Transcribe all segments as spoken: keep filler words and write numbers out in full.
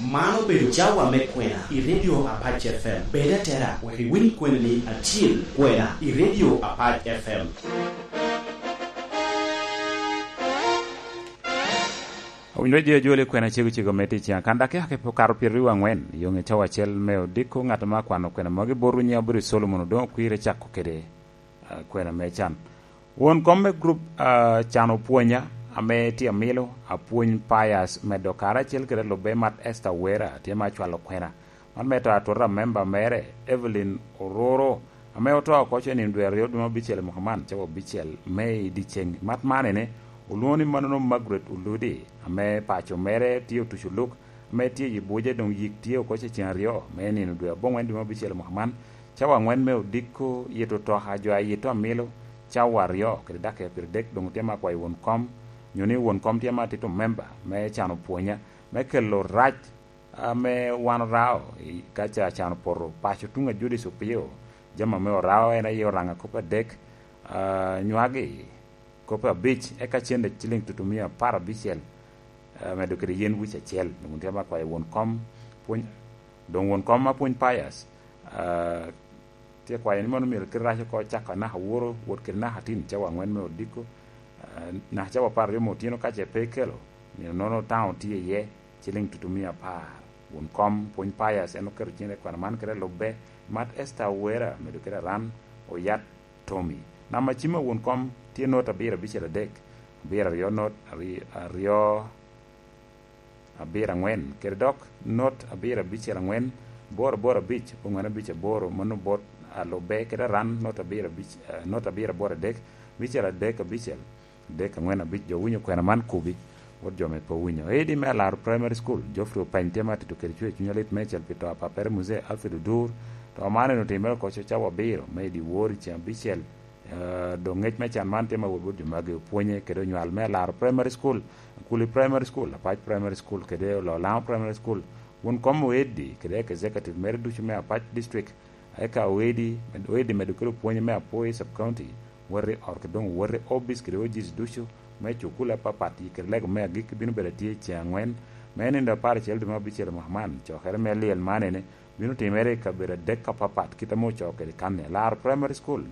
Man obedo cawa me kwena i Radio Apac F M. Bed atera, wek iwiny kwenani acil, kwena i Radio Apac F M. Owinyo jo joli kwena cego cego me tic, kan dakika ke okato pyeraryo angwen, yo nge cawa acel me odiko, ngat ma kwano kwena magi bot nyiŋe obedo Solomon Odongo Kwir, ecako kede, ah, kwena me can. Won kom me grup, ah, can opwonya, ame tye amilo, apwony Pius medo karacel kede lubbe mat Esther Wera, tye ma acwalo kwena. Man me to atwota memba mere, Evelyn Ororo, ame oto oko ce nino dwe aryo dwe me abicel i mwaka man, cawa abicel me i dyeceŋ. Mat man ene, olwoŋo ni manono Margaret Oludi, ame paco mere tye otuco luk, ame tye i Buja, doŋ yik tye oko ce ceŋ aryo, me nino dwe aboŋwen dwe me abicel i mwaka man, cawa aŋwen me odiko, yito otoka jo a yito amilo, cawa aryo kede dakika pyeradek, doŋ tye ma akwayo won kom, nyo ni won kom tye ma atito memba me can opwonya, me kelo rac ame wan orao i, ka ca can opoto, paco tuŋ a Judic opio, jami ame orao en aye Oraŋa kop adek, ah, nywagi kop abic, eka cente ciliŋ tutumia apar abicel, ah, medo kede yen wic acel. Doŋ tye ma akwayo won kom pwony, doŋ won kom ma pwony Pius, ah, tye kwayo ni mano myero kite rac oko cako anaka woro, wot kede naka tin cawa aŋwen me odiko, ah, naka cawa apar aryo me otyeno ka ce pe ikelo, nino nono taŋo tye iye, ciliŋ tutumia apar. Won kom pwony Pius en oketo cene i kwena man kede lubbe, mat Esther Wera, medo kede aran, oyat Tommy. Namba cim a won kom tye not abiro abicel adek, abiro aryo not, ari-, aryo abiro aŋwen, kede dok not abiro abicel aŋwen, boro aboro abic, ongwen abic aboro, mano bot alubbe, kede aran not abiro abic, eh, not abiro aboro adek, abicel adek abicel, adek aŋwen abic. Jo winyo kwena man kubi, wot jo me pe owinyo. Edi me Alaro Primary School, Geoffrey Openy tye ma tito kede cwer cuny alit meicel pi to a papere Muzee Alfred Odur, to man en otimere oko cawa abiro me i dyewor i ceŋ abicel. Eh, doŋ ngec me can man tye ma wot bot jo magi opwonye kede onywal me Alaro Primary School, Akuli Primary School, Apac Primary School, kede Ololamo Primary School. Won kom oedi kede executive mere ducu me Apac District, eka oedi, oedi medo kede opwonye me Apoi Sub County, wot i ot kede doŋ wot i obic kede ojic ducu me cukul apapat, kede lego me agikki bino bedo atye i ceŋ aŋwen, me nindo apar acel dwe me abicel mwaka man. Cokere me lyel man ene bino timere i kabedo adek apapat, kit ame ocoo kede kanni. Alaro Primary School,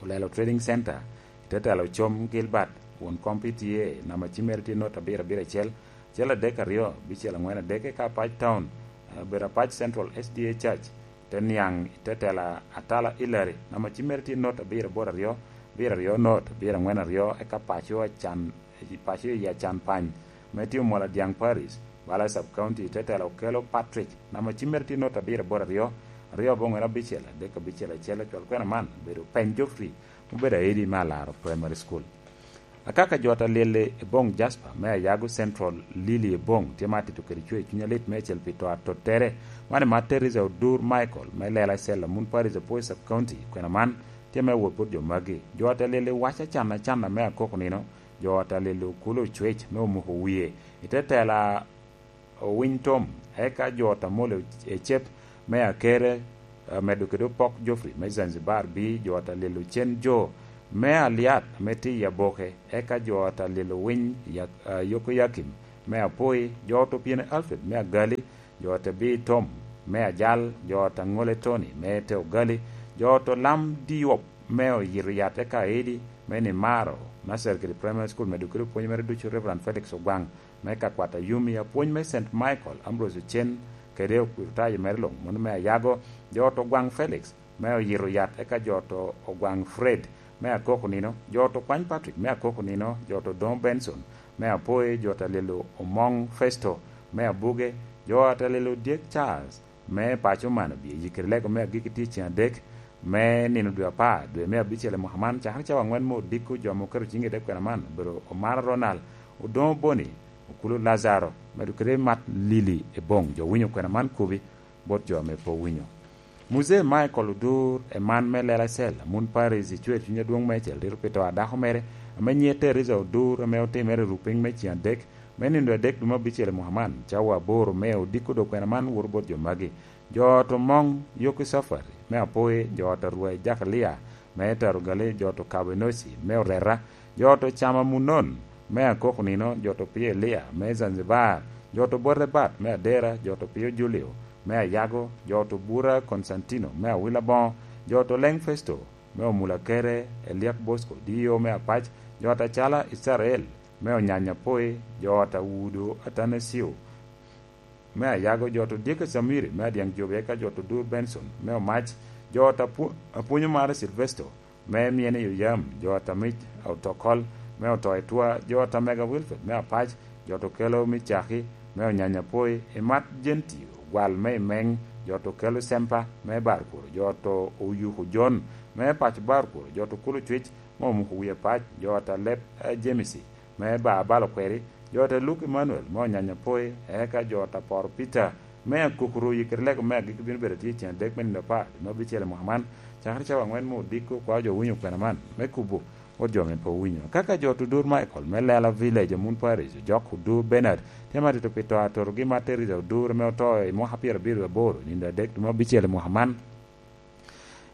Olelo Trading Center, i te telo Com Gilbert, won kom P T A, namba cim mere tye not abiro abiro acel, acel adek aryo, abicel aŋwen adek, eka Apac Town, eh, obedo Apac Central S D A Church, te niaŋ i te tela Atala Hillary, namba cim mere tye not abiro aboro aryo, abiro aryo not, abiro aŋwen aryo, eka paco acan, paco i acan pany, me tye Omwola Dyaŋ Paris, bala Sub County, te tela Okello Patrick, namba cim mere tye not abiro aboro aryo, aryo aboŋwen abicel, adek abicel acel. Acwal kwena man obedo Peny Geoffrey, obedo aedi me Alaro Primary School. Akaka jo ata lyelle i boŋ Jasper me Ayago Central, Lily Ebong, tye ma atito kede cwer cuny alit me acel pi to atottere. Man i mat Teresa Odur Michael me Lela Cell, Amun Parish, Apoi Sub County. Kwena man tye me wot bot jo magi. Jo ata lyelle waco acan acan ame akoko nino, jo ata lyelle okulo cwec me omuko wie. I te tela Owiny Tom, eka jo ata molo ecep me Akere, eh, medo kede Opok Geoffrey me Zanzibar, bi jo ata lyel Ocen Jo me Aliat ame tye i Aboke, eka jo ata lyel Owiny Ya-, eh, Yokoyakim me Apoi, jo ata Opyene Alfred me Agali, jo ata Bi Tom me Ajal, jo ata Ŋole Tony me te Ogali, jo ata Olam Diop me Oyito Yat, eka Edi me Nimaro, Nursery kede Primary School, medo kede opwony mere ducu, Reverend Felix Ogwaŋ, me ka kwat Ayumi, apwony me Saint Michael, Ambrose Ocen, kede okwiritayo mere luŋ, mano me Ayago, jo ata Ogwaŋ Felix, me Oyito Yat, eka jo ata Ogwaŋ Fred, me Akoko Nino, jo ata Okwany Patrick, me Akoko Nino, jo ata Odoŋo Benson, me Apoyi, jo ata Lelo Omoŋ Festo, me Abuge, jo ata Lelo Dyek Charles, me paco man obye yikere lego me agikki tye ceŋ adek me nino dwe apar, dwe me abicel i mwaka man, cakere cawa aŋwen me odiko jo ame oketo ciŋgi i te kwena man, obedo Omara Ronald, Odoŋo Boni, Okulo Lazaro, medo kede Mat Lili Ebong. Jo winyo kwena man kubi bot jo ame pe owinyo. Muzee Michael Odur, eman me Lela Cell, Amun Paris, icwer cuny adwoŋ meicel, rito pi to a dako mere, ame nyiŋe Teresa Odur, ame otimere i rupiny me ceŋ adek, me nino adek dwe me abicel i mwaka man, cawa aboro me odiko dog kwena man woto bot jo magi. Jo ata Omoŋ Yoki Safari me Apoyi, jo ata Rwai Jakalia me Tarugali, jo ata Okabo Enoci me Oreta, jo ata Ocama Munon me Akoko Nino, jo ata Opio Elia me Zanzibar, jo to bote Bat me Adera, jo to Pio Julio me Ayago, jo to Bura Konstantino me Awila Boŋo, jo to Leŋ Festo me Omulakere, Eliak Bosco, D O me Apac, jo to Acala Icrael me Onyanya Poi, jo to Awudo Atanasio me Ayago, jo to Dyeke Camiri me Adyaŋ Jobe, eka jo to Dur Benson me Omac, jo to Apu-, Apwonyo Mare Silvesto me Myene Yoyam, jo to Amic Otokol me Otoetwa, jo to Mega Wilfred me Apac, jo to Kelo me Caki me Onyanya Poi, Imat Jenti Ogwal me Imeŋ, jo to Kelo Sempa me Barkuro, jo to Oyuku Jon me Paco Barkuro, jo to Kulu Cwic me Omuko Wie Pac, jo to Leb, eh, Jemisi me Ba Abalo Kweri, jo ta Luke Emanuel me Onyanya Poi, eka jo ta Poro Peter me Akukuru i kite lego me agikki bino bedo atye i cen adek me nino apar, dwe me abicel i mwaka man, cakere cawa aŋwen me odiko. Kwa jo winyo kwena man me kubo bot jo ame pe owinyo. Kaka jo Tudur Michael me Lela Village, Amun Parish, ojok Odur Bernard, tye ma tito pi to atotogi Martha Teresa Odur ame oto i mwaka pyerabiro aboro, nino adek dwe me abicel i mwaka man.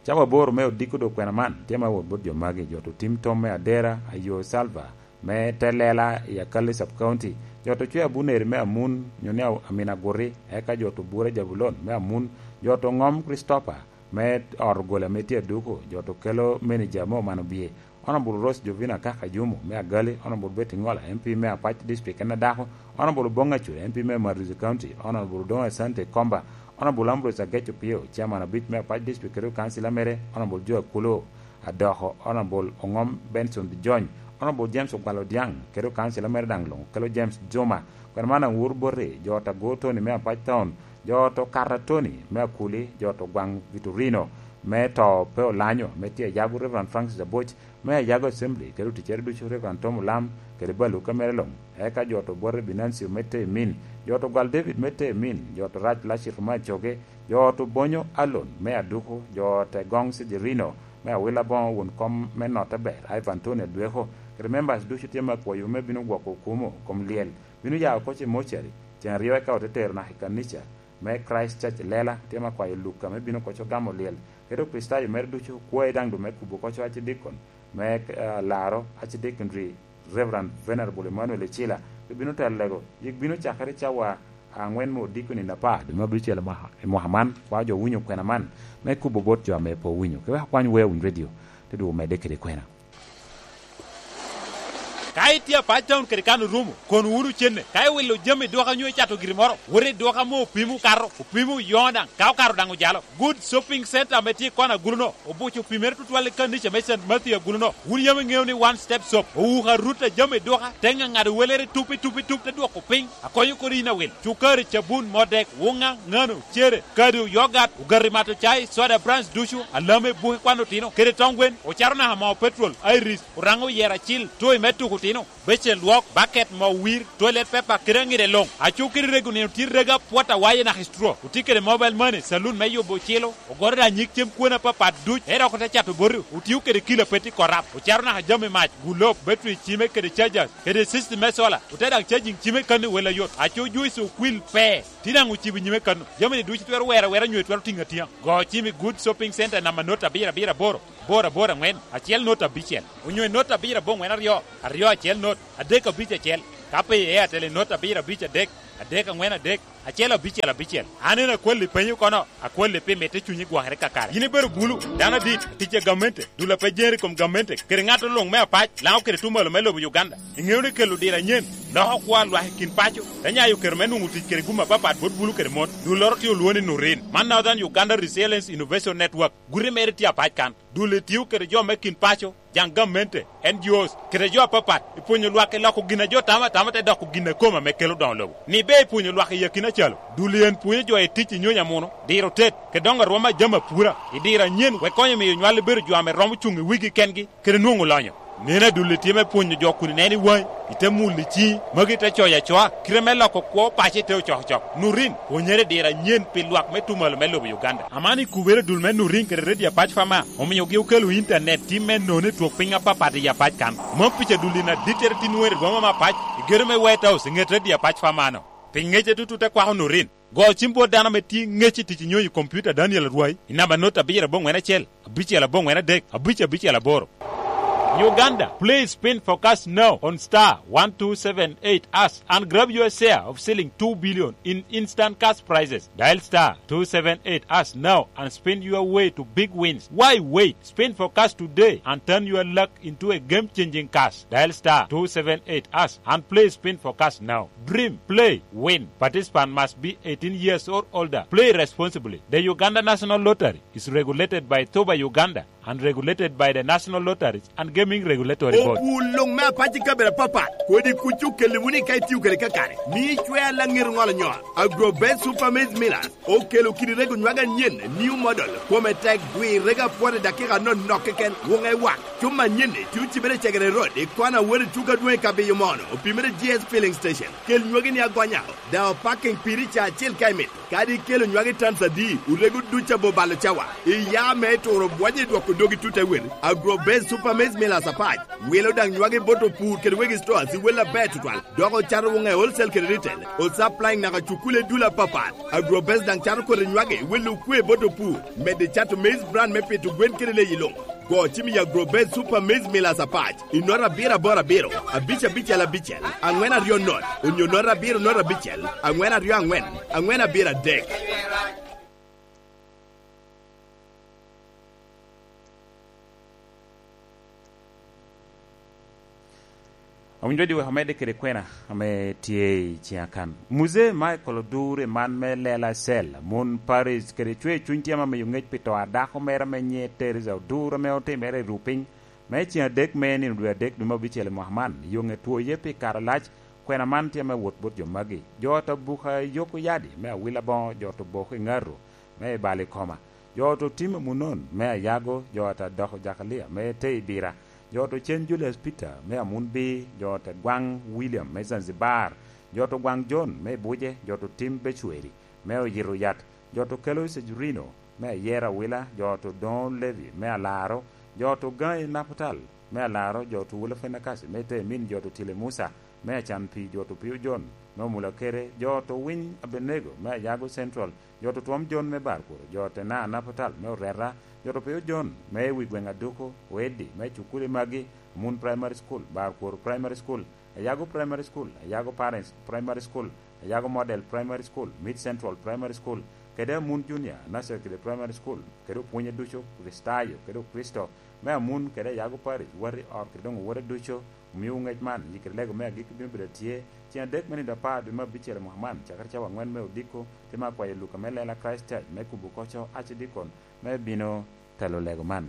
Cawa aboro me odiko dog kwena man tye ma wot bot jo magi, jo to tim tom me Adera, Ayo Salva me Telela i Akali Sub County, jo to Cwe Abuneri me Amun, nyo ni Amin Aguti, eka jo to Bura Jabulon me Amun, jo to Ŋom Christopher me Ot Ogola me tye Aduku, jo to Kelo Manager me Omano Bye, Honorable Rose Jovina Kaka Jumo me Agali, Honorable Betty Ŋola, M P me Apac District en adako, Honorable Oboŋ Acure, M P me Marizi County, Honorable Odoŋo Asante Komba, Honorable Ambrose Ageco Pio, Chairman abic me Apac District kede Council mere, Honorable Joe Akulo Adoko, Honorable Oŋom Benson Dijony, Honorable James Ogwal Odiaŋ kede Council mere daŋ luŋ, kelo James Juma, kwena man aŋur boti, jo ta Go Tony me Apac Town, jo to Kata Tony me Akuli, jo to Gwaŋ Vitorino me to pe Olanyo, me tye Ayago Reverend Francis Aboc, me Ayago Assembly, kede oticere ducu Reverend Tom Olam, kede Baluka mere luŋ, eka jo to Bwate Binancio me te Emin, jo to Gwal David me te Emin, jo to Rac Lacito me Acoge, jo to Bonyo Alon me Aduku, jo te Goŋ Sijirino me Awila Boŋo, won kom me Notte Ber, Ivan Tony Adweko, kede members ducu tye me akwayo me bino gwoko okumo kom lyel, bino ya oko ce mocari, ceŋ aryo eka ote tero naka i kanica me Christ Church Lela, tye me akwayo Luka me bino koco gamo lyel, kede Okricitayo mere ducu, kwayi daŋ du me kubo koco acidikon me, eh, laro acidikon ri Reverend Venerable Emmanuel Ecila, pe bino telo lego, yik bino cakere cawa aŋwen me odiko nino apar, dwe me abicel i mwaka, i mwaka man, kwa jo winyo kwena man, me kubo bot jo ame pe owinyo, ke wek akwany Wea Winy Radio, te dwogo medde kede kwena. Ka itye Apac Town kede kan orumo, kono wunu cenne. Ka iwilo jami i duka nyo icato giri moro, wot i duka ame opimo okato, opimo oyoŋo daŋ, ka okato daŋ ojalo. Good Shopping Center ame tye i kona agulu-no, obuco opimere tutwal i kanica me Saint Matthew agulu-no. Wun yam iŋeo ni One Step Shop owuko arut a jami i duka, te ŋaŋado welere tup i tup i tup, te dwoko piny. Akonyo kodi in awil. Cukari, cabun, modek, wuŋa, ŋano, cere, kado, yogat, ogati mato cai, soda, brands ducu, alame, buke kwan otino, kede tong gwen, ocaro naka moo petrol, Iris, Oraŋo oyero acil, toy me tuko otino, becen lwok, baket, moo wir, toilet paper, kede aŋide luŋ. Aco kede rego nino tye rega pwot awaye naka i straw. Otye kede mobile money, saloon me yubo ocilo, ogoro da nyig cem kwena apapat duc, ero dok ote cato boti. Otio kede kilo a pe tye korap, ocaro naka jami mac, gulob, battery cime kede chargers, kede system me solar, ote daŋ charging cime kan i wel ayot. Aco juice okwil pe. Tye daŋ ocibo nyime kano. Jami-ni ducu twero wero awera nyo twero tiŋo atiŋa. Go cim i Good Shopping Center namba not abiro abiro aboro, boro aboro aŋwen, acel not abicel, onyo i not abiro aboŋwen aryo, aryo acel not, adek abic acel. Ka pe i Airtel i not abiro abic adek, adek aŋwen adek, acel abicel abicel. An en akwalli penyo kono, akwalli pi mitte cunyi gwokere kakare. Yin ibedo bulu, dano adit, tic a gamente, dul a pe jeri i kom gamente, kede ŋat luŋ me apac, Laŋo kede tuŋ malo me lobo Uganda. Iŋeo ni kelo diro anyen loko kwo a lwak i kin paco, te nyayo kero me nwoŋo tic kede gum apapat bot bulu kede mon. Dulloro tye olwoŋo ni Nurin, man Northern Uganda Resilience Innovation Network. Guti mere tye apac kan. Dulli tio kede jo me kin paco, jaŋ gamente, N G Os, kede jo apapat, i pwonyo lwak i loko gin a jo tamo atama te doko gin a kome ame kelo doŋo lobo. Ni ber i pwonyo lwak i akina calo. Dulli en pwonyo jo i tic i nyonyo amuno, diro tet, kede doŋo arwom a jami apura, i diro anyen, wek konyo miyo nywal bedo jo ame romo cuŋ i wigi kengi, kede nwoŋo lonyo. Neno adulli tye me pwonyo jo kun ineno i waŋi, ite mulo i ciŋi, magi te coyo acoa, kite me loko kwo paco ite ocokocok. Nurin, pwonyere i diro anyen pi lwak me tuŋ malo me lobo Uganda. Aman i kubere dul me Nurin kede Radio Apac Fama, omiogi okelo intanet tim me nono i twok piny apapat i Apac kan. Mom pica dulli na dittere tin were i boma me Apac, i gedo me White House, i ŋet Radio Apac Fama-no. Pi ŋece tutu te kwako Nurin. Go cim bot dano ame tye ŋec i tic i nyonyo i kompiuta Daniel Arwai i namba not abiro aboŋwen acel, abicel aboŋwen adek, abic abicel aboro. Uganda, play Spin for Cash now on star one two seven eight hash and grab your share of shilling two billion in instant cash prizes. Dial star two seven eight hash now and spin your way to big wins. Why wait? Spin for Cash today and turn your luck into a game-changing cash. Dial star two seven eight hash and play Spin for Cash now. Dream, play, win. Participant must be eighteen years or older. Play responsibly. The Uganda National Lottery is regulated by Toba Uganda and regulated by the National Lotteries and Gaming Regulatory Board. Opul luŋ me apac i kabedo apapat, kodi kuc okelli wunu ka itio kede kakare. Mi icwe alaŋir ŋolo nyol. Agrobest Super Maize Millers okelo kidi rego nywage anyen, new model, kome tek, gwi rego apwot i dakika anonok keken, wuŋe wak. Cuma anyen-ni tye ocibere i Cegere Road, i kona wot i tuko adwoŋ i Kabiyo Mono, opimere G S Filling Station. Kel nywagi-ni agonya, daŋ opaking piri ca acel ka imito. Kadi ikelo nywagi tons adi, orego duc abo balo cawa. Iya me turo bwonyo i dwoko dogi tut awel. Agrobest Super Maize Millers apac wilo daŋ nywagi bot opur kede wegi stores i wel aber tutwal, dok ocato wuŋe wholesale kede retail. Osupplying naka cukule i dul apapat. Agrobest daŋ cato kodi nywagi i wel okwe bot opur, medde cato maize bran me pito gwen kede leyi luŋ. Go cim i Agrobest Super Maize Millers apac i nota abiro aboro abiro, abic abicel abicel, aŋwen aryo not, onyo nota abiro not abicel, aŋwen aryo aŋwen, aŋwen abiro adek. Awinyo di wek amedde kede kwena ame tye i ciŋa kan. Muzee Michael Odur i man me lela cel, mon Paris kede cwer cuny tye ame omiyo ŋec pi to a dako mere ame nyiŋe Teresa Odur ame otimere i ruu piny me ciŋ adek me nino dwe adek dwe me abicel i mwaka man. Yoŋe two ye pi kare alac, kwena man tye ame wot bot jo magi. Jo ata buka yoko yadi me awila boŋo, jo to boko i ŋato me i bal i koma, jo to tim amunon me ayago, jo ata doko jakalia me te i bira, jo to cen Julius Peter me amun bi, jo te gwaŋ William me Zanzibar, jo to gwaŋ John me i buce, jo to tim becweri me oyito yat, jo to kelo Cejurino me ayero awila, jo to doŋo Levi me alaro, jo to gaŋ i Naputal me alaro, jo to wula Fenakasi me te min, jo to tile Musa me acan pi, jo to pio John me omula kere, jo to winy Abenego me ayago Central, jo to twom John me bar kuro, jo te na Naputal me oreta, jo to pio John me wi gweŋ aduko, oeddi me cukuli magi, Amun Primary School, Bar Kuro Primary School, Ayago Primary School, Ayago Parents Primary School, Ayago Model Primary School, Mid Central Primary School, kede Amun Junior, Nursery kede Primary School, kede opwonye ducu, Kricitayo kede Okricito, me Amun kede Ayago Parish, wati ot kede doŋ owote ducu, omio ŋec man, yikere lego me agikki bino bedo atye, cen adek me nino apar dwe me abicel i mwaka man, cakere cawa angwen me odiko, te ma akwayo Luka me lela Christ Church me kubo koco Archdeacon me bino telo lego man.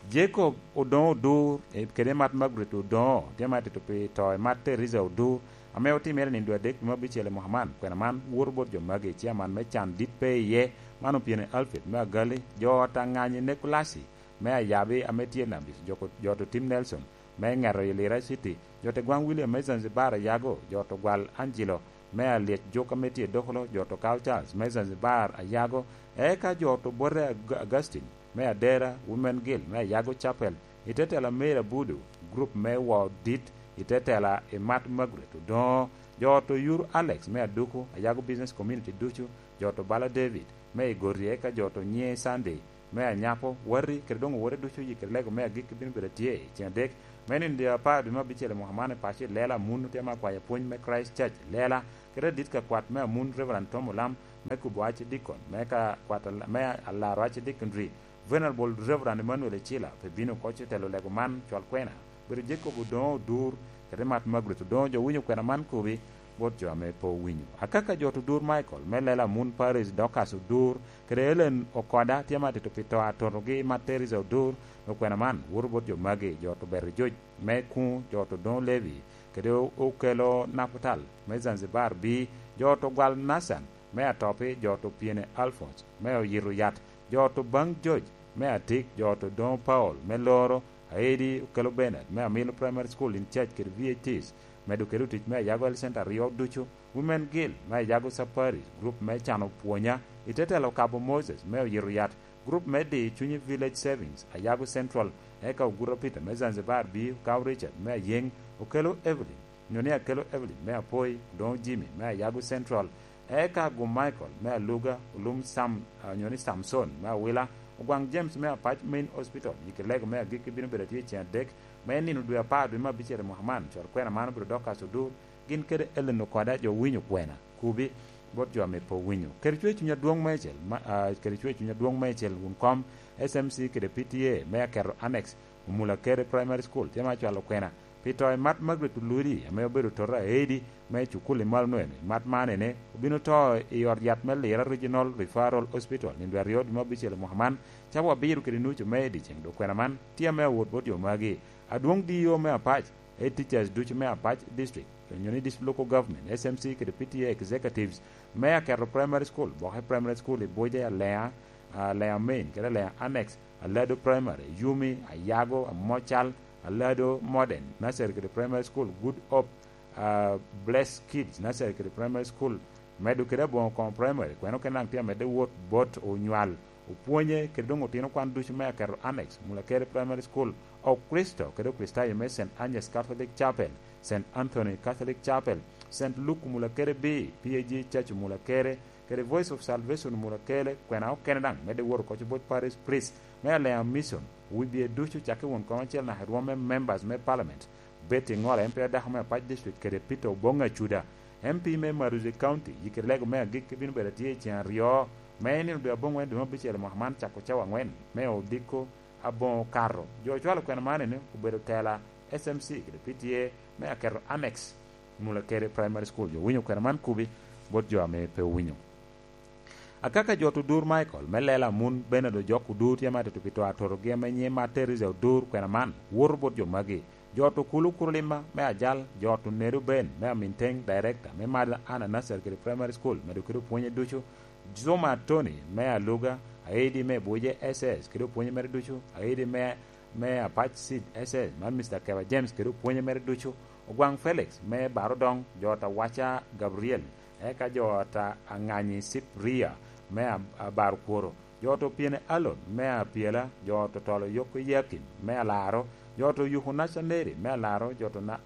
Jacob Odoŋo Odur, eh, kede Mat Margaret Odoŋo, tye ma tito pi to i Mat Teresa Odur, ame otimere nindo adek dwe me abicel i mwaka man. Kwena man woto bot jo magi, ciaman me can dit pe iye, man opyene Alfred me Agali, jo ot aŋanyi Nikolasi me Ayabi ame tye Nabis, jo, jo to tim Nelson, me ŋeto i Lira City, jo te gwaŋ William me Zanzibar Ayago, jo to gwal Angelo me Alyec Juk ame tye Dokolo, jo to Carl Charles me Zanzibar Ayago, eka jo to bote Ag-, Augustine me Adera, Women Guild me Ayago Chapel, i te tela Mary Abudu, group me Woo Dit, i te tela i Mat Margaret Odoŋo, jo to Yur Alex me Aduku, Ayago Business Community ducu, jo to Bala David me Igoti, eka jo to Nyiŋe Sunday me Anyapo, wati, kede doŋ owote ducu, yikere lego me agikki bino bedo atye i cen adek me nino dwe apar dwe me abicel i mwaka man i paco i lela. Amun otye ma akwayo pwony me Christ Church lela, kede adit ka kwat me Amun Reverend Tom Olam me kubo Archdeacon, me ka kwat al-, me alaro Archdeaconry, Venerable Reverend Emmanuel Ecila, pe bino koc i telo lego man, cwal kwena. Bedo Jacob Odoŋo Odur, kede Mat Margaret Odoŋo, jo winyo kwena man kobi bot jo ame pe owinyo. Akaka jo to Odur Michael, me lela Amun Paris Dorcas Odur, kede Ellen Okoda, tye ma tito pi to atotogi Mat Teresa Odur, okwena man woto bot jo magi, jo to Beto Joc me Kuŋ, jo to Doŋo Levi, kede o-, okelo Naputal me Zanzibar bi, jo to gwal Nathan me Atopi, jo to Pyene Alphonse me Oyito Yat, jo to Baŋ Joc me Atik, jo to Doŋo Paul me Loro, Aedi okelo Bernard me Amilo Primary School in charge kede V H Ts, medo kede otic me Ayago Health Center aryo ducu, Women Guild me Ayago Safari, group me Cano Pwonya, i te telo Kabo Moses me Oyito Yat, group me Di Cunyi Village Savings, Ayago Central, eka Oguta Peter me Zanzibar bi, Okaw Richard me Ayeŋ, okelo Evelyn, nyo ni akelo Evelyn me Apoi, Odoŋo Jimmy me Ayago Central, eka Agum Michael me Aluga, Olum Sam, ah, nyo ni Samson me Awila, Ogwaŋ James me Apac Main Hospital, yikere lego me agikki bino bedo atye i cen adek Me nino dwe apar dwe me abicel i mwaka man, cwal kwena man obedo Dorcas Odur, gin kede Ellen Okoda, jo winyo kwena, kubi, bot jo ame pe owinyo. Kede cwer cuny adwoŋ meicel, ma, ah, kede cwer cuny adwoŋ meicel wun kom S M C kede P T A me aketo annex Omulakere Primary School, tye ma cwalo kwena pi to i Mat Margaret Oludi, ame obedo toto aedi me cukul i malo nwene. Mat man ene obino to i ot yat me Lira Regional Referral Hospital, nino dwe aryo dwe me abicel i mwaka man, cawa abiro kede nucu me i dyeceŋ, dok kwena man tye ame awot bot jo magi. Adwoŋ D E O me Apac, Head Teachers ducu me Apac District, onyo ni District Local Government, S M C kede P T A Executives me Aketo Primary School, Boke Primary School i Buja, Alea, ah, Alea Main, kede Alea Annex, Alado Primary, Yumi, Ayago, Amocal, Alado Modern Nursery kede Primary School, Good Hope, ah, Blessed Kids Nursery kede Primary School, medo kede Aboŋo Koŋo Primary, kweno kene daŋ tye amedde wot bot onywal, opwonye kede doŋ otino kwan ducu me Aketo Annex, Mulakere Primary School, Okristo kede Okristayo me Saint Agnes Catholic Chapel, Saint Anthony Catholic Chapel, Saint Luke Mulakere B, P A G Church Mulakere, kede Voice of Salvation Mulakere, kwena okene daŋ medde wot oko bot Parish Priest me Alea Mission, wibie ducu cakke won koŋ acel naka i rwom me members me Parliament, Betty Ŋola, M P adako me Apac District, kede Peter Oboŋ Acuda, M P me Maruzi County, yikere lego me agikki bino bedo atye i ceŋ aryo me nino dwe aboŋwen dwe me abicel i mwaka man, cako cawa aŋwen me odiko aboŋo okato. Jo ocwalo kwena man ene obedo tela S M C kede P T A me aketo annex Mulakere Primary School. Jo winyo kwena man kubi bot jo ame pe owinyo. Akaka jot odur Michael me lela Amun Bernard Ojok Odur tye ma tito pi to atotogi ame nyiŋe Mat Teresa Odur kwena man woto bot jo magi. Jot Okulu Kurulima me Ajal, jot Onedo Ben me Aminteŋ, Director me Mother Anna Nursery kede Primary School, medo kede opwonye ducu, Zuma Tony me Aluga, Aidi me Buje S S kede opwonye mere ducu, Aidi me, me Apac Seed S S, man Mister Keba James kede opwonye mere ducu, Ogwaŋ Felix me Barodoŋ, jot Awaca Gabriel, eka jot Aŋanyi Cypria me Ab-, Abarokworo, jot Opyene Alon me Apyela, jot Otolo Yoko Yakin me Alaro, jot Oyuku Naca Neri me Alaro, jot Na-,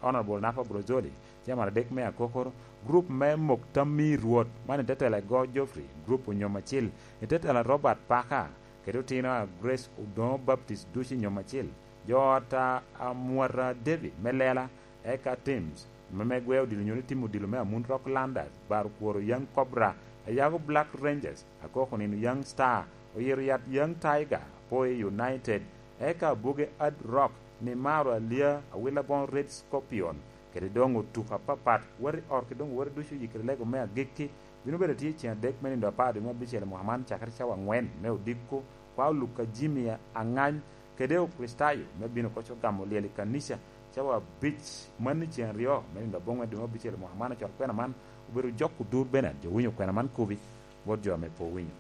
Honorable Nafa Brozoli, Chairman adek me Akokoro, group me Mok Tam me Rwot, man i te tela Go Geoffrey, group Onyom Acil, i te tela Robert Parker, kede otino a Grace Odoŋo Baptist ducu i Nyom Acil, jo ot a, a Mwata David me Lela, eka Teams, me, me gwe odilo nyo ni timo odilo me Amun Rock Landers, Bar Kworo Young Cobra, Ayago Black Rangers, Akoko Nino Young Star, Oyero Yat Young Tiger, Poi United, eka Buge Ad Rock, Nimaro Alia, Awila Boŋo Red Scorpion, kede doŋ otuko apapat, wati ot ki doŋ wati ducu yikere lego me agikki, bino bedo tye i ceŋ adek me nino apar dwe me abicel i mwaka man, cakere cawa aŋwen me odiko, kwa oluk a Jimmy Aŋany, kede Okricitayo me bino koc ogamo lyel i kanica, cawa abic man i ceŋ aryo me nino aboŋwen dwe me abicel i mwaka man, ocwalo kwena man, obedo Jok Odur Bernard, jo winyo kwena man kubi, bot jo ame pe owinyo.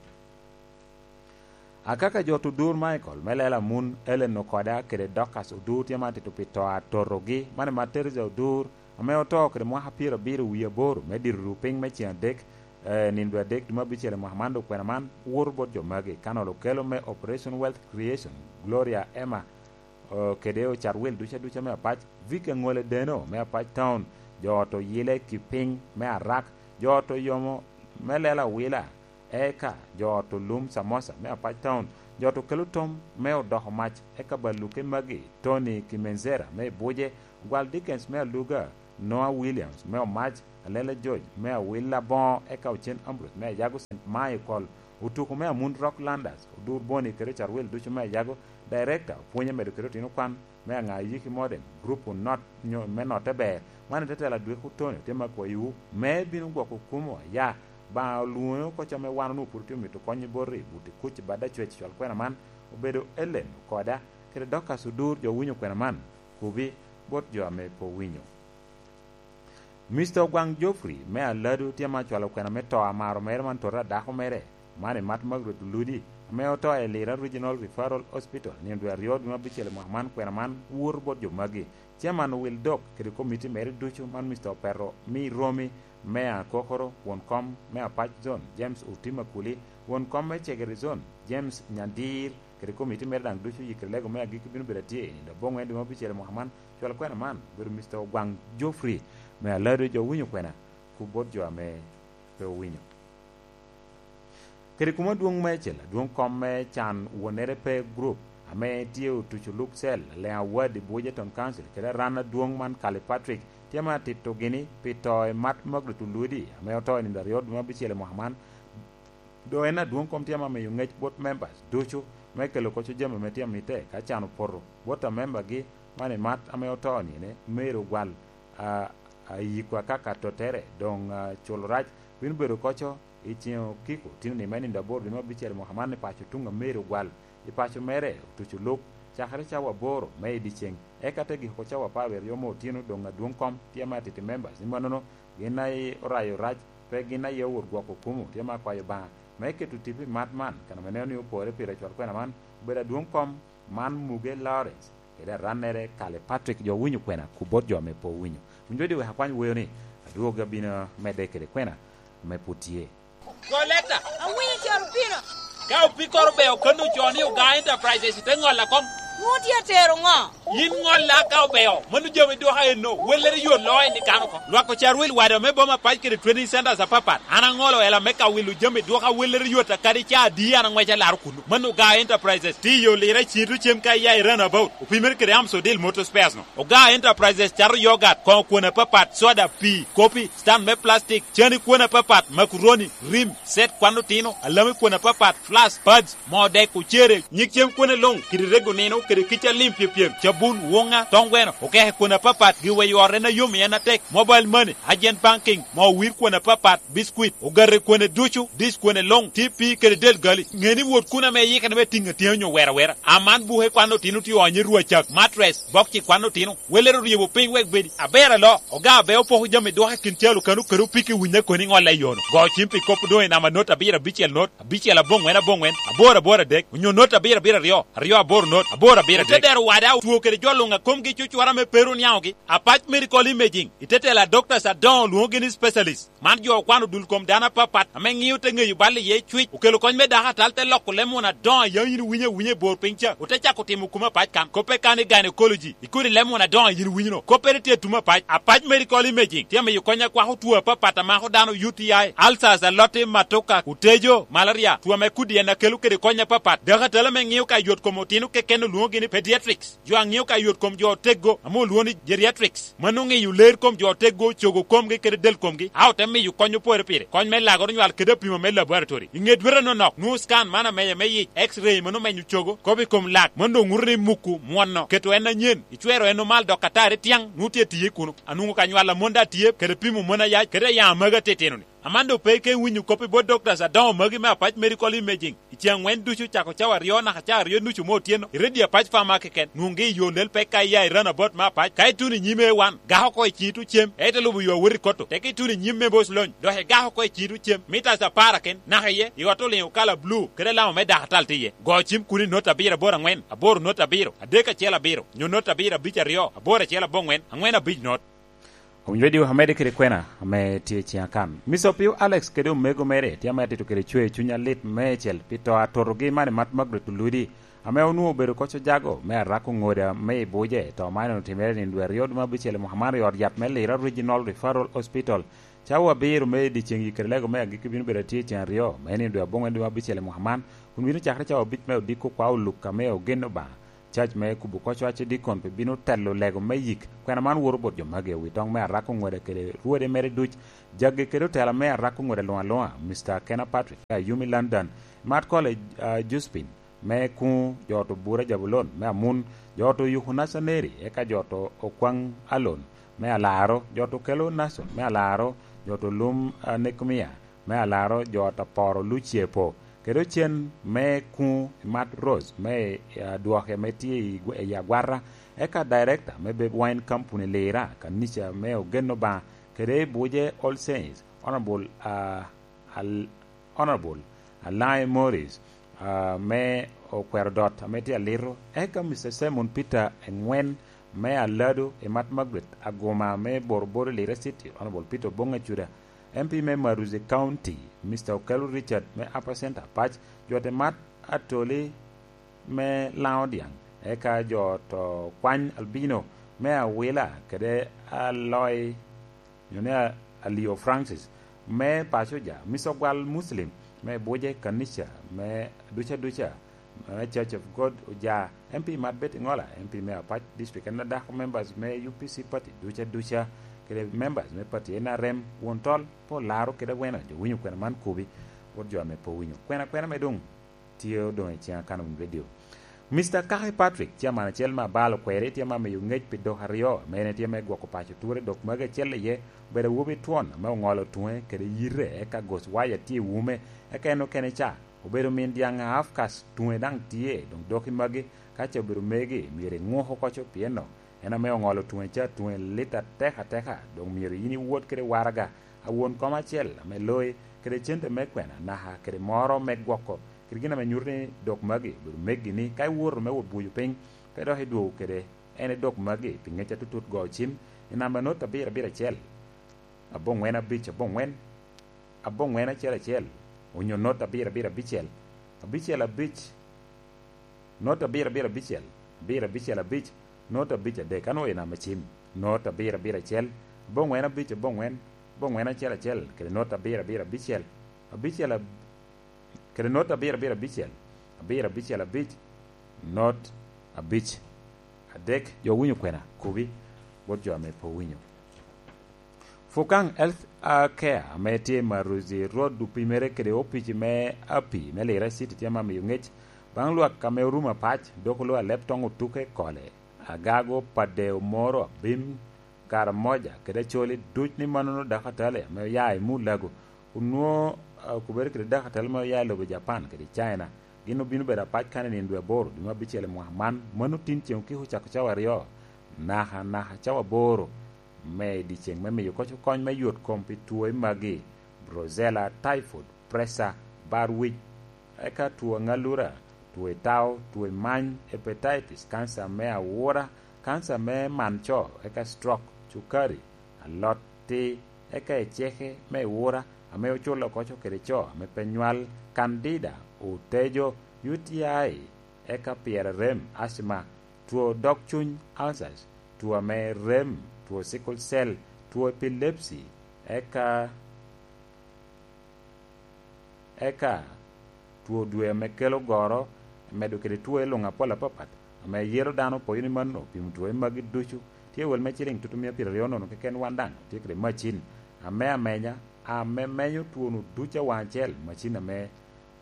Akaka jot Odur Michael me lela Amun Ellen Okoda kede Dorcas Odur tye ma tito pi to atotogi, mane Mat Teresa Odur, ame oto kede mwaka pyerabiro wie aboro me dito ru piny me ceŋ adek, eh, nino dwe adek dwe me abicel i mwaka man, dok kwena man woto bot jo magi, Kanol Okello me Operation Wealth Creation, Gloria Emma, eh, kede Ocarwil ducu aduca me Apac, Vic Aŋole Deno me Apac Town, jo ot Oyile Kipiny me Arak, jo ot Oyomo me Lela Wila, eka jo ot Olum Samosa me Apac Town, jo ot Okelo Tom me Odoko Mac, eka Baluke magi, Tony Kimenzera me Buje, Ogwal Dickens me Aluga, Noah Williams me Omac, Alele George me Awil Aboŋo, eka Ocen Ambrose me Ayago Saint Michael, Otuko me Amun Rock Landers, Odur Boni kede Carwil ducu me Ayago, Director, opwonye medo kede otino kwan me Aŋa Yiki Modern, Group Not nyo me Notte Ber, man i te tela Dweko Tony, tye ma kwayiwu, me bino gwoko kumo aya, Baŋa olwoŋe oko ca me wan onwoŋo pwod otye omito konyo boti, buti kuc i bad acwec cwal kwena man, obedo Ellen Okoda, kede Dorcas Odur, jo winyo kwena man, kubi, bot jo ame pe owinyo. Mister Ogwaŋ Geoffrey me Alado tye ma cwalo kwena me to amaro mere man tota a dako mere, man i Mat Margaret Oludi, ame oto i Lira Regional Referral Hospital nino dwe aryo dwe me abicel i mwaka man, kwena man woto bot jo magi. Chairman Wil Dok kede komiti mere ducu, man Mister Opeto me Iromi me Akokoro, won kom me Apac Zone James Otima Kuli, won kom me Cegere Zone James Nyandir, kede komiti mere daŋ ducu, yikere lego me agikki bino bedo atye i nino aboŋwen dwe me abicel i mwaka man. Cwal kwena man obedo Mister Ogwaŋ Geoffrey me Alado, jo winyo kwena, ku bot jo ame pe owinyo. Kede kuma adwoŋ meicel, adwoŋ kom me can wonere pe group, ame tye otuco luk cel, Leŋ Award i Buoja Town Council, kede aran adwoŋ man Kali Patrick, tye ame atito gini pi to i Mat Margaret Oludi, ame oto i nino aryo dwe me abicel i mwaka man. Doŋ en adwoŋ kom tye ame amiyo ŋec bot members ducu me kelo koco jami ame tye amite ka can opoto bot amembagi man i Mat ame oto nine, Mary Ogwal, a, a, yiko akaka tottere, doŋ, a, culo rac bino bedo koco i ceŋ okiko tino ni me nino aboro dwe me abicel i mwaka man i paco tuŋ a Mary Ogwal. I paco mere otuco luk cakere cawa aboro me i dyeceŋ, eka te giko cawa apar wie aryo me otino doŋ adwoŋ kom tye ame atiti members. I mannono, gin aye orayo rac, pe gin aye owot gwoko kumo, tye ame akwayo Obaŋa me keto tipo i Mat man, kan ame neno ni opore pire cwal kwena man, obedo adwoŋ kom man Muge Lawrence, kede arannere Kale Patrick, jo owinyo kwena ku bot jo ame pe owinyo. Wun jo di wek akwany woyo ni, adwogi abino medde kede kwena ame pwod tye. Go leta. Awinyo coro pino. Ka opikoro be okanno co ni Oga Enterprises, ite ŋolla kom. Nwoŋo tye atero ŋo? Yin ŋolla ka obeo, mano jami dwoka enno, wellere yot loo en i kano ko. Lwak ocarwil wade me boma pac kede training centers apapat. An aŋolo ela me ka wilo jami dwoka wellere yot a kadi ca adi an aŋweco alaro kuno. Mano Oga Enterprises, tiyo lira cito cem ka iya i runabout, opimere kede Amsodil Motor Spares no. Oga Enterprises cato yogat, koŋo kwon apapat, soda, pii, kopi, stand me plastic, cani kwon apapat, makuroni, rim, set kwan otino, alami kwon apapat, flask, pads, moo dek, ocere, nyig cem kwone luŋ, kede rego nino, kede kica lim pyepyem, cabun, woŋa, toŋ gweno, okeke kwon apapat, giweyo ot en ayom i en atek, mobile money, agent banking, moo wir kwon apapat, biscuit, ogate kwone ducu, dish kwone luŋ, T P kede del gali. Ŋe ni wot kun ame iyikere me tiŋ atyeni onyo wera wera. Aman buke kwan otino tye onyo i rwacak, mattress, bokci kwan otino. Welere oryebo piny wek bedi aber alo. Oga abe opoko jami dwoka i kin calo kano kede opiki winyo koni ŋolle i yono. Go cim pi kop doŋ i namba not abiro abicel not, abicel aboŋwen aboŋwen, aboro aboro adek, onyo not abiro abiro aryo, aryo aboro not, aboro abiro adek. Ote dero wada otwo kede jo luŋ a komgi cucwara me pero niaŋogi. Apac Medical Imaging, i te tela doctors adoŋo lwoŋogi ni specialist. Man jo okwano dul kom dano apapat ame ŋio te ŋeyo bal iye cwic, okelo kony me dako atal te loko leb muna adoŋo a yam yin iwinyo awinya i bor piny ca, ote cako timo kumo apac kan. Koppe kan i gynecology, i kodi leb muna adoŋo a yin iwinyo no, koppere tye atumo apac. Apac Medical Imaging tye amiyo kony akwako two apapat a mako dano, U T I, ulcers, aloti, matoka, otejo, malaria, two ame kodi en akelo kede kony apapat. Dako atal ame ŋio ka yot kom otino keken olwoŋogi ni pediatrics. Jo a ŋio ka yot kom jo oteggo ame olwoŋo ni geriatrics, mano ŋeyo ler kom jo oteggo, cogo komgi kede del komgi, a ote miyo kony opore pire, kony me lagoro nywal kede apimo me laboratory. I ŋe dwete nonok, nwoŋo scan man ameye me yic, x-ray mano menyo cogo, kop i kom lak, mano doŋ ŋuto ni muku mwono, keto en anyen, icwero en omal dok atari tiaŋ, nwoŋo tye tiye kuno. Anwoŋo ka nywal a mon daŋ tye, kede pimo mon ayac, kede ayaŋ amagi atitino-ni. Aman doŋ pe ike winyo kop i bot doctors adoŋo magi me Apac Medical Imaging. I ce aŋwen ducu cako cawa aryo naka cawa aryo nucu me otyeno, i redio Apac Pharma keken, nwoŋgi i yo lel pek ka iya i runabout me Apac. Ka ituno i nyim A one, gak oko i ciŋ itucem, ite lubo yo awot i Kotto. Tek ituno i nyim me Boc Lony, dok igak oko i ciŋ itucem, mitas apar aken, naka iye, i ot oliŋo kala blu, kede alama me dakatal tye iye. Go cim kun i not abiro aboro aŋwen, aboro not abiro, adek acel abiro, nyo not abiro abic aryo, aboro acel aboŋwen, aŋwen abic not. Owinyo diwu amedde kede kwena ame tye i ciŋ akan. Mister Opio Alex kede omego mere tye ame atito kede cwer cuny alit meicel pi to a totogi man i Mat Margaret Oludi, ame onwoŋo obedo koc ojago me arako ŋoda me i buce. To man otimere nino dwe aryo dwe me abicel i mwaka man i ot yat me Lira Regional Referral Hospital. Cawa abiro me dyeceŋ i kede lego me agikki bino bedo atye i ceŋ aryo me nino dwe aboŋwen dwe me abicel i mwaka man, kun bino cakere cawa abic me odiko kwa oluk ame ogen Obaŋa. Cac me kubo koc wacce dikon pe bino telo lego me yik. Kwena man woto bot jo magi, owi toŋ me arako ŋweda kede rwode mere duc, jaggi kede otela me arako ŋweda luŋ aluŋa, Mister Kena Patrick, me Ayumi London, Mat College, ah, Josephine, me kuŋ jo to Bura Jabulon, me Amun, jo to Yuku Nacaneri, eka jo to Okwaŋ Alon, me Alaro, jo to Kelo Nason, me Alaro, jo to Lum, ah, Nekumia, me Alaro, jo to Aporo Luciepo, kede ocen me kuŋ i Mat Rose me, eh, dwoke ame tye i gw-, i Agwata, eka director me Babe Wine Company Lira, kanica me Ogen Obaŋa, kede i Buje All Saints, Honorable, ah, Al-, Honorable Alaŋe Morris, ah, me Okwero Dot ame tye Alito, eka Mister Simon Peter Engwen me Alado i Mat Margaret Aguma me Boroboro Lira City, Honorable Peter Oboŋ Acuda, M P me Maruzi County, Mister Okello Richard me Upper Centre Apac, jo te Mat Atoli me Laŋo Dyaŋ, eka jo to Kwany Albino me Awila kede Aloi, nyo ni A-, Alio Francis me Pacoja, Mister Ogwal Muslim me Buje Kanica me duca duca, eh, Church of God Oja, M P Marbet Ngola, M P me Apac District, en adako members me U P C party duca duca, kede members me party N R M, won tol, pe olaro kede awena, jo winyo kwena man kubi, wot jo ame pe owinyo. Kwena kwena me dong tye odoŋ i ciŋa kan owinyo radio. Mister Kaki Patrick, chairman acel me Abalo Kweri, tye ma miyo ŋec pi dok aryo, ame en tye me gwoko paco ture, dok magi acel iye obedo awobi twon ame oŋolo tuŋe kede yite, eka gos waya tye i wume, eka en okene ca obedo min dyaŋ a Afkas, tuŋe daŋ tye, doŋ dok i magi, ka ce obedo megi, myero iŋuk oko co, pien en ame oŋolo tuŋe ca, tuŋe lit atek ateka, doŋ myero yin iwot kede waraga, a won kom acel ame loi, kede cente me kwena, naka kede moro me gwoko, kede gin ame nyuto ni dok magi obedo megi, ni ka iwoto me wot buco piny, pe dok idwogo kede en i dok magi pi ŋec atutut. Go cim i namba not abiro abiro acel, aboŋwen abic aboŋwen, aboŋwen acel acel, onyo not abiro abiro abicel, abicel abic, not abiro abiro abicel, abiro abicel abic, not abic adek. Anwoŋo i namba cim, not abiro abiro acel, aboŋwen abic aboŋwen, aboŋwen acel acel, kede not abiro abiro abicel, abicel ab-, kede not abiro abiro abicel, abiro abicel abic, not abic adek. Jo winyo kwena, kubi bot jo ame pe owinyo. Fukaŋ Health Care ame tye i Maruzi Road opimere kede opici me Api me Lira City tye ma miyo ŋec baŋ lwak ame orumo apac, dok oloo alep toŋ otuke kole, agago, padde, omoro, abim, Karamoja kede Acholi duc ni mannono dakatali ame oya i Mulago onwoŋo, ah, okubere kede dakatali ame oya i lobo Japan kede China. Gin obino bedo apac kan i nino dwe aboro, dwe me abicel i mwaka man. Mano tin ceŋ okiko ocako cawa aryo, naka, naka cawa aboro me i dyeceŋ me miyo koc kony me yot kom pi two magi: brucella, typhoid, pressure, bar wic, eka two aŋalura, two i tao, two i many, hepatitis, kanca me awura, kanca me man co, eka stroke, cukari, alot ti, eka eceke me iwura, ame oculo koco kede co ame pe nywal, candida, otejo, U T I, eka pyerarem, asthma, two dog cuny, ulcers, two ame rem, two sickle cell, two epilepsy, eka Eka two dwe ame kelo goro, medo kede two i luŋ apol apapat, ame yelo dano opoyo ni mano, pimo two magi ducu. Tye wel me ciliŋ tutumia pyeraryo nono keken, wan daŋ tye kede macin ame amenya, ame menyo two-nu ducu awaŋ acel, macin ame,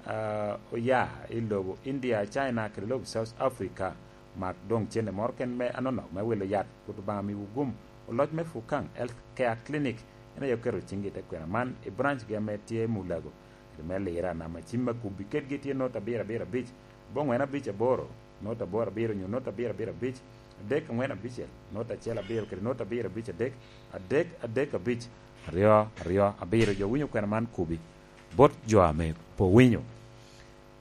ah, oya i lobo India, China, kede lobo South Africa. Mak doŋ cente moro ken me anonok me wilo yat, Rwot Obaŋa miwu gum. Oloc me Fukaŋ Health Care Clinic en aye oketo ciŋgi i te kwena man i branch gi ame tye Mulago, kede me Lira. Namba cim me kubbi kedgi tye not abiro abiro abic, aboŋwen abic aboro, not aboro abiro, nyo not abiro abiro abic, adek aŋwen abicel, not acel abiro, kede not abiro abic adek, adek adek abic, aryo aryo abiro. Jo winyo kwena man kubbi bot jo ame pe owinyo.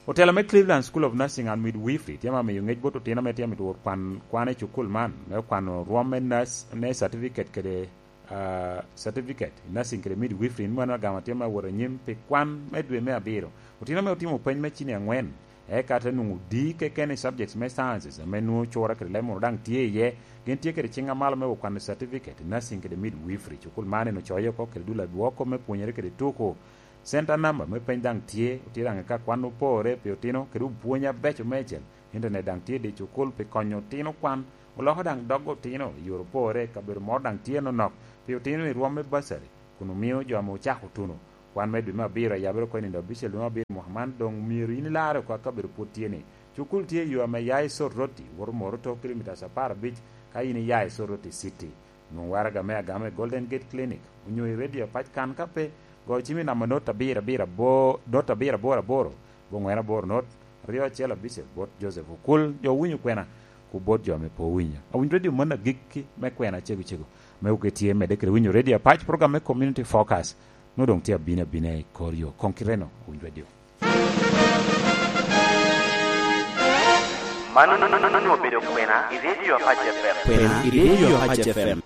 Otela me Cleveland School of Nursing and Midwifery tye ma miyo ŋec bot otino ame tye mito wot kwan, kwan i cukul man, me kwano rwom me nurse, ne certificate kede, ah, certificate i nursing kede midwifery, ni mano agama tye ma wot anyim pi kwan me dwe me abiro. Otino ame otimo peny me cini aŋwen, eka te nwoŋo di keken i subjects me sciences ame nwoŋo cura kede leb moro daŋ tye iye, gin tye kede ciŋ amalo me wot kwano certificate i nursing kede midwifery. Cukul man en ocoyo oko kede dul adwoko me pwonyere kede tuko. Center number me peny daŋ tye, otye daŋ i ka kwan opore pi otino, kede opwony abeco meicel. Internet daŋ tye i dye cukul pi konyo otino kwan, oloko daŋ dog otino i yore opore. Kabedo moro daŋ tye nonok pi otino i rwom me bursary, kun omio jo ame ocako tuno kwan me dwe me abiro, ayabere oko i nino abicel dwe me abiro mwaka man, doŋ myero in ilarre oko, kabedo pwod tye ni. Cukul tye i yo ame ya i Soroti, woto Moroto, kilomitas apar abic, ka in iya i Soroti City. Nwoŋ waraga me agama i Golden Gate Clinic, onyo i Radio Apac kan. Ka pe, go cim i namba not abiro abiro abo-, not abiro aboro aboro, boŋwen aboro not, aryo acel abicel, bot Joseph Okul, jo owinyo kwena, ku bot jo ame pe owinyo. Awinyo radio man agikki me kwena cego cego, me oke tye medde kede winyo Radio Apac, program me Community Focus, nwoŋo doŋ tye abino abina i kor yo. Koŋ kiteno, awinyo radio. Mano obedo kwena i Radio Apac F M. Kwena i Radio Apac F M.